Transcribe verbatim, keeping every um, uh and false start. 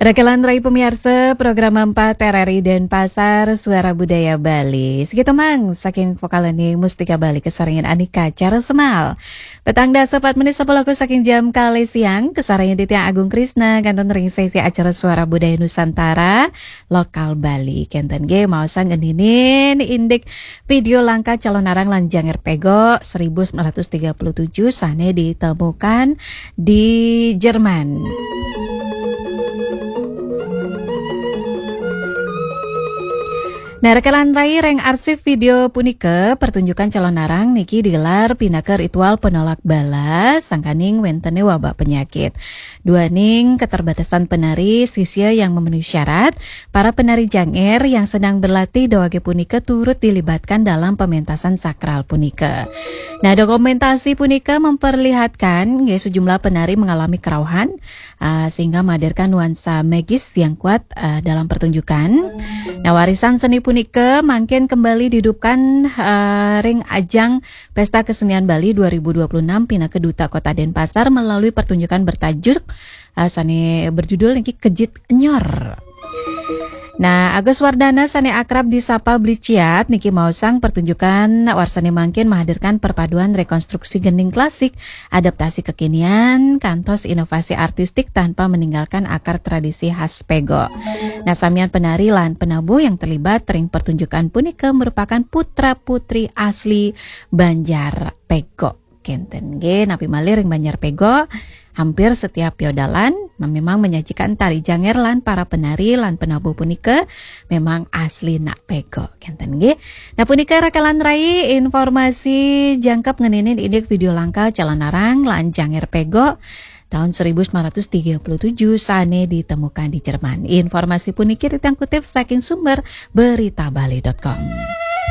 Rekelan rai pemiarsa program empat R R I Denpasar, Suara Budaya Bali. Segitu mang saking vokal ni Mustika Bali, kasarengin Anika Cara Semal. Petang dasa pat menit sepuluh saking jam kali siang, kasarengin Ditya Agung Krisna, kenten ring sesi acara Suara Budaya Nusantara, Lokal Bali. Kenten nggih, maosang ngeninin indik video langka calonarang lan janger pego seribu sembilan ratus tiga puluh tujuh sane ditemukan di Jerman. Nah, rekelan rai ring arsip video punika, pertunjukan calonarang niki digelar pinaka ritual penolak bala sangkaning wentene wabak penyakit. Duaning keterbatasan penari sisia yang memenuhi syarat, para penari janger yang sedang berlatih dawage punika turut dilibatkan dalam pementasan sakral punika. Nah, dokumentasi punika memperlihatkan nggih sejumlah penari mengalami kerauhan, ah, sehingga menghadirkan nuansa magis yang kuat, ah, dalam pertunjukan. Nah, warisan seni punika mangkin kembali dihidupkan, ah, ring ajang Pesta Kesenian Bali dua ribu dua puluh enam pinaka Duta Kota Denpasar melalui pertunjukan bertajuk, ah, sane berjudul niki Kejit Nyor. Nah, Agus Wardana sane akrab disapa Bli Ciat niki maosang pertunjukan warsane mangkin menghadirkan perpaduan rekonstruksi gending klasik, adaptasi kekinian, kantos inovasi artistik tanpa meninggalkan akar tradisi khas pego. Nah, samian penari lan penabuh yang terlibat ring pertunjukan punika merupakan putra-putri asli Banjar Pego. Kenten nggih, napi malih ring Banjar Pego, hampir setiap piodalan memang menyajikan tari janger lan para penari lan penabuh punika memang asli nak pego. Kenten nggih. Nah, punika rekelan rai informasi jangkep ngeninin indik video langka calonarang lan janger pego tahun seribu sembilan ratus tiga puluh tujuh sane ditemukan di Jerman. Informasi puniki titiang kutip saking sumber berita bali dot com.